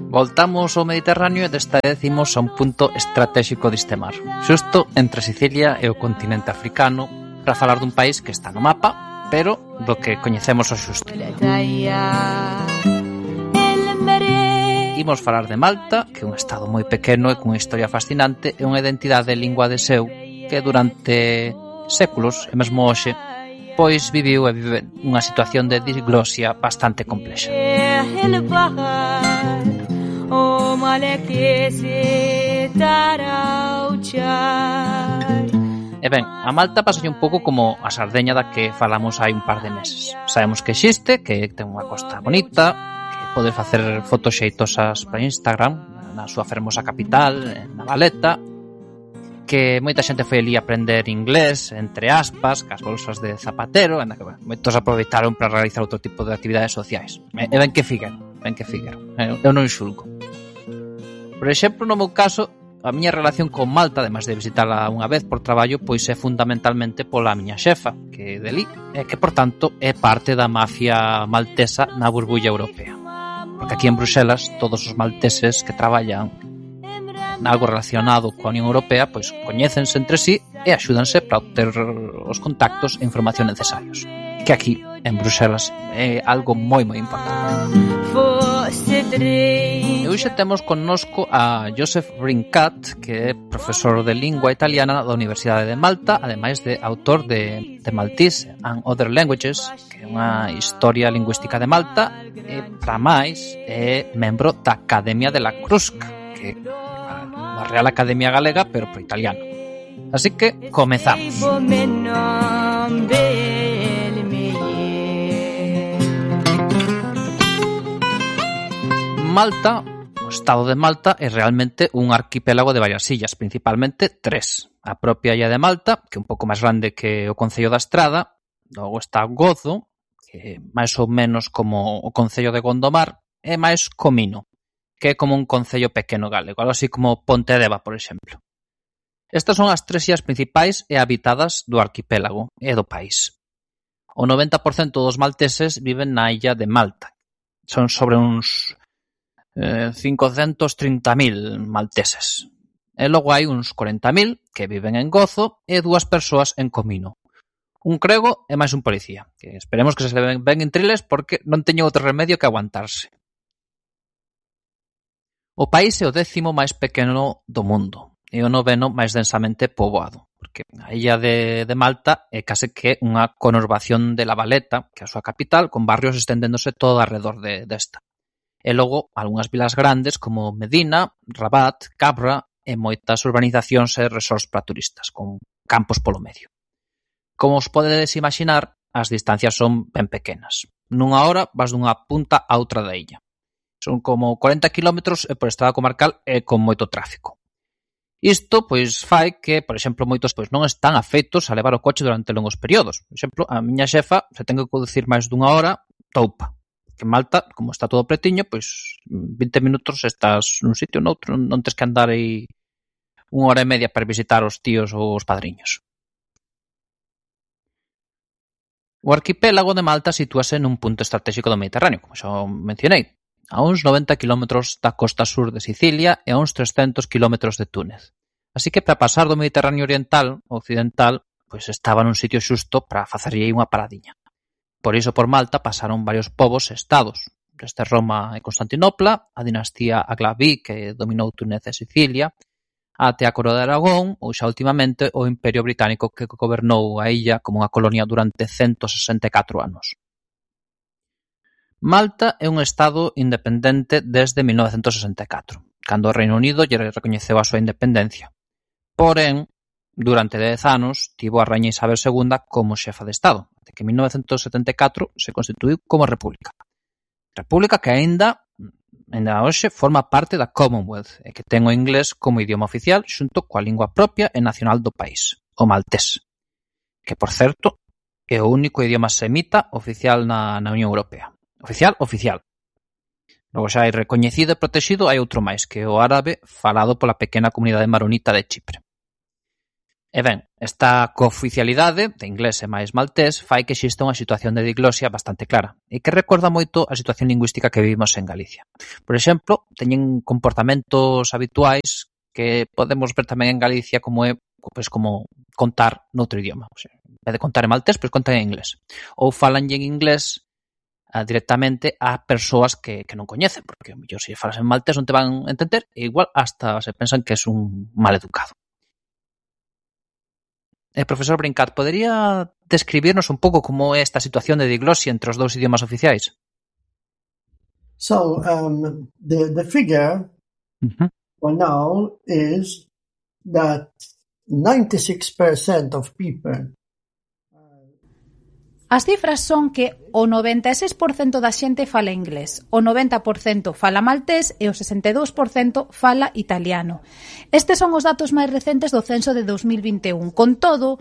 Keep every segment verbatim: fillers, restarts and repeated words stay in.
Voltamos ao Mediterráneo e desta vez imos a un punto estratégico deste mar, xusto entre Sicilia e o continente africano, para falar dun país que está no mapa, pero do que coñecemos o xusto. Imos falar de Malta, que é un estado moi pequeno e cunha historia fascinante e unha identidade e lingua de seu que durante séculos, e mesmo hoxe, pois viviu e vive unha situación de diglosia bastante complexa. E ben, a Malta pasalle un pouco como a Sardeña da que falamos hai un par de meses. Sabemos que existe, que ten unha costa bonita, que podes facer fotos xeitosas para Instagram, na súa fermosa capital, na Valeta, que moita xente foi ali a aprender inglés, entre aspas, cas bolsas de zapatero, en que bueno, moitos aproveitaron para realizar outro tipo de actividades sociais. E ben que figueron, ben que figueron. Eu non xulgo. Por exemplo, no meu caso, a miña relación con Malta, además de visitala unha vez por traballo, pois é fundamentalmente pola miña xefa, que é deli, e que, por tanto, é parte da mafia maltesa na burbulla europea. Porque aquí en Bruxelas, todos os malteses que traballan algo relacionado coa Unión Europea, pois coñécense entre sí e axúdanse para obter os contactos e información necesarios. Que aquí, en Bruxelas, é algo moi moi importante. E hoxe temos connosco a Joseph Brincat, que é profesor de lingua italiana da Universidade de Malta, ademais de autor de The Maltese and Other Languages, que é unha historia lingüística de Malta, e, para máis, é membro da Academia de la Crusca, que é a Real Academia Galega, pero pro italiano. Así que, comezamos. Malta, o estado de Malta, é realmente un arquipélago de varias illas, principalmente tres. A propia illa de Malta, que é un pouco máis grande que o Concello da Estrada, logo está Gozo, que é máis ou menos como o Concello de Gondomar, e máis Comino, que é como un concello pequeno galego, algo así como Pontedeva, por exemplo. Estas son as tres illas principais e habitadas do arquipélago e do país. O noventa por cento dos malteses viven na illa de Malta. Son sobre uns eh, cincocentos trinta mil malteses. E logo hai uns corenta mil que viven en Gozo e dúas persoas en Comino. Un crego e máis un policía, que esperemos que se ven ben intriles porque non teñen outro remedio que aguantarse. O país é o décimo máis pequeno do mundo e o noveno máis densamente poboado, porque a illa de, de Malta é case que unha conurbación de La Valeta, que é a súa capital, con barrios estendéndose todo alrededor de, desta. E logo, algunhas vilas grandes como Medina, Rabat, Cabra e moitas urbanizacións e resorts para turistas, con campos polo medio. Como os podedes imaginar, as distancias son ben pequenas. Nunha hora vas dunha punta a outra da illa. Son como corenta kilómetros e por estrada comarcal e con moito tráfico. Isto, pois, fai que, por exemplo, moitos pois non están afeitos a levar o coche durante longos períodos. Por exemplo, a miña xefa, se ten que conducir máis dunha hora, toupa. Que en Malta, como está todo pretiño, pois vinte minutos estás nun sitio ou noutro, non tens que andar aí unha hora e media para visitar os tíos ou os padriños. O arquipélago de Malta sitúase nun punto estratégico do Mediterráneo, como xa mencionei, a uns noventa kilómetros da costa sur de Sicilia e a uns trescentos kilómetros de Túnez. Así que para pasar do Mediterráneo oriental ao occidental, pois estaba nun sitio xusto para facerlle unha paradiña. Por iso por Malta pasaron varios povos e estados, desde Roma e Constantinopla, a dinastía Aghlabi que dominou Túnez e Sicilia, até a Coroa de Aragón ou xa ultimamente o Imperio Británico que gobernou a illa como unha colonia durante ciento sesenta e catro anos. Malta é un estado independente desde mil novecentos sesenta e catro, cando o Reino Unido lle recoñeceu a súa independencia. Porén, durante dez anos, tivo a raíña Isabel segunda como xefa de Estado, até que en mil novecentos setenta e catro se constituíu como república. República que aínda, aínda hoxe, forma parte da Commonwealth e que ten o inglés como idioma oficial xunto coa lingua propia e nacional do país, o maltés, que, por certo, é o único idioma semita oficial na, na Unión Europea. Oficial, oficial. Logo xa hai recoñecido e protegido hai outro máis, que é o árabe falado pola pequena comunidade maronita de Chipre. E ben, esta cooficialidade de inglés e máis maltés fai que exista unha situación de diglosia bastante clara e que recorda moito a situación lingüística que vivimos en Galicia. Por exemplo, teñen comportamentos habituais que podemos ver tamén en Galicia como é pois, como contar noutro idioma. O sea, en vez de contar en maltés, pois contan en inglés. Ou falanlle en inglés a, directamente a persoas que, que non coñecen, porque mellor se falas en maltés non te van a entender e igual hasta se pensan que es un mal educado. Eh, profesor Brincat, podería describirnos un pouco como é esta situación de diglosia entre os dous idiomas oficiais? So, um, the, the figure uh-huh. for now is that ninety-six percent of people. As cifras son que o noventa e seis por cento da xente fala inglés, o noventa por cento fala maltés e o sesenta e dous por cento fala italiano. Estes son os datos máis recentes do censo de dos mil vinte e un. Con todo,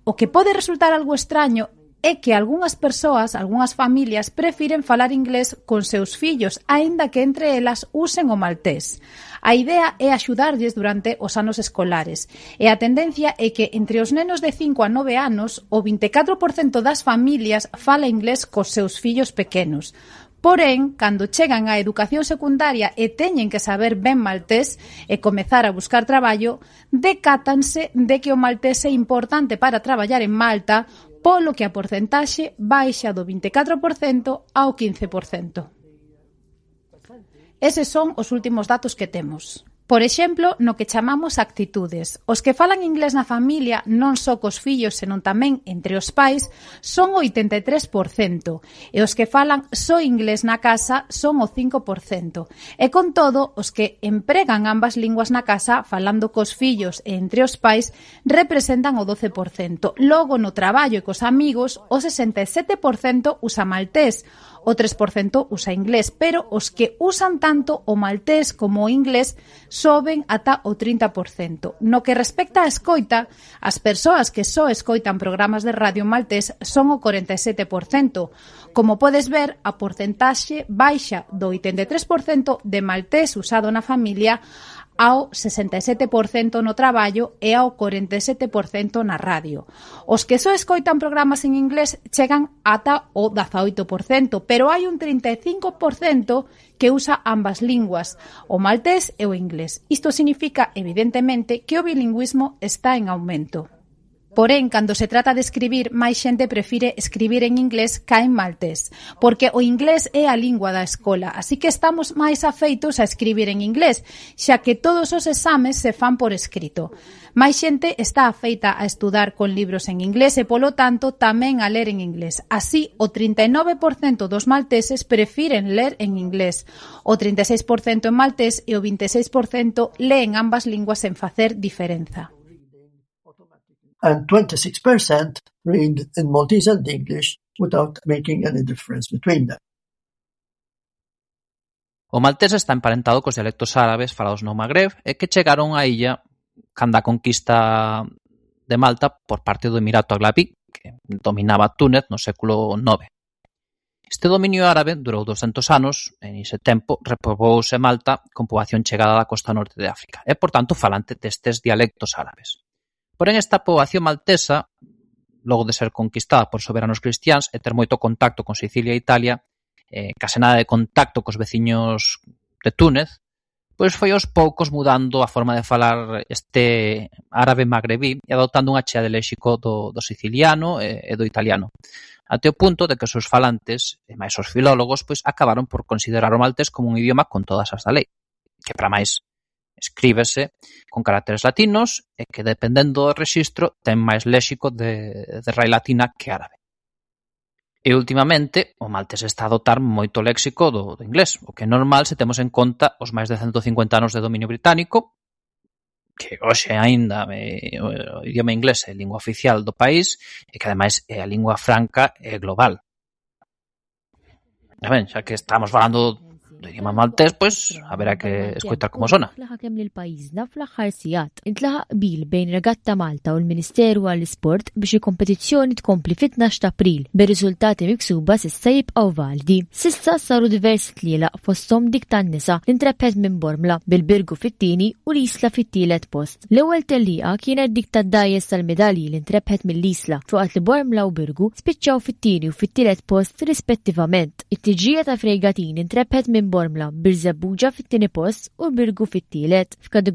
o que pode resultar algo extraño é que algunhas persoas, algunhas familias, prefiren falar inglés con seus fillos, aínda que entre elas usen o maltés. A idea é axudarlles durante os anos escolares e a tendencia é que entre os nenos de cinco a nove anos o vinte e catro por cento das familias fala inglés cos seus fillos pequenos. Porén, cando chegan á educación secundaria e teñen que saber ben maltés e comezar a buscar traballo, decátanse de que o maltés é importante para traballar en Malta, polo que a porcentaxe baixa do vinte e catro por cento ao quince por cento. Eses son os últimos datos que temos. Por exemplo, no que chamamos actitudes. Os que falan inglés na familia, non só cos fillos, senón tamén entre os pais, son o oitenta e tres por cento. E os que falan só inglés na casa son o cinco por cento. E con todo, os que empregan ambas linguas na casa, falando cos fillos e entre os pais, representan o doce por cento. Logo, no traballo e cos amigos, o sesenta e sete por cento usa maltés, o tres por cento usa inglés, pero os que usan tanto o maltés como o inglés soben ata o trinta por cento. No que respecta á escoita, as persoas que só escoitan programas de radio maltés son o corenta e sete por cento. Como podes ver, a porcentaxe baixa do oitenta e tres por cento de maltés usado na familia ao sesenta e sete por cento no traballo e ao corenta e sete por cento na radio. Os que só escoitan programas en inglés chegan ata o dezaoito por cento, pero hai un trinta e cinco por cento que usa ambas linguas, o maltés e o inglés. Isto significa, evidentemente, que o bilingüismo está en aumento. Porén, cando se trata de escribir, máis xente prefire escribir en inglés ca en maltés, porque o inglés é a lingua da escola, así que estamos máis afeitos a escribir en inglés, xa que todos os exames se fan por escrito. Máis xente está afeita a estudar con libros en inglés e, polo tanto, tamén a ler en inglés. Así, o trinta e nove por cento dos malteses prefiren ler en inglés, o trinta e seis por cento en maltés e o vinte e seis por cento leen ambas linguas sen facer diferenza. And twenty-six percent read in Maltese and English without making any difference between them. O maltés está emparentado cos dialectos árabes falados no Magreb e que chegaron á illa cando a conquista de Malta por parte do Emirato Aghlabi, que dominaba Túnez no século nove. Este dominio árabe durou doscentos anos e nese tempo repobouse Malta con poboación chegada da costa norte de África e, por tanto, falante destes dialectos árabes. Porén, esta poboación maltesa, logo de ser conquistada por soberanos cristiáns e ter moito contacto con Sicilia e Italia, eh, case nada de contacto cos veciños de Túnez, pois foi aos poucos mudando a forma de falar este árabe magrebí e adoptando unha chea de léxico do, do siciliano e, e do italiano, até o punto de que os seus falantes, e máis os filólogos, pois acabaron por considerar o maltés como un idioma con todas as da lei, que para máis escríbese con caracteres latinos e que, dependendo do rexistro, ten máis léxico de, de raíz latina que árabe. E, últimamente, o maltés está a adotar moito léxico do, do inglés, o que é normal se temos en conta os máis de ciento cincuenta anos de dominio británico, que hoxe aínda é, o idioma inglés é a lingua oficial do país e que, ademais, é a lingua franca e global. A ben, xa que estamos falando idioma maltes, pues habrá que escuchar cómo sona. Kemm lil pajjiżna fl-aħħar sigħat intlaħaq bil bejn Regatta Malta u l-Ministeru għall-Isport biex il-kompetizzjoni tkompli fit-tnax ta' April bir-riżultati miksuba s'issa jibqgħu validi. S'issa saru diversi tlielaq fosthom dik tan-nisa li ntrebbħet minn Bormla bil-Birgu fit-tieni u l-Isla fit-tielet post. L-ewwel tellieqa kienet dik tad-dajjes tal-medalji li ntrebbħet mill-Isla fuqat li Bormla u Birgu spiċċaw fit-tieni u fit-tielet post rispettivament. It-tiġrija ta' Frejgatin intrebbħet minn Bormla bir-Żebbuġa fit-tieni post u Birgu fit-tielet. F'kategorija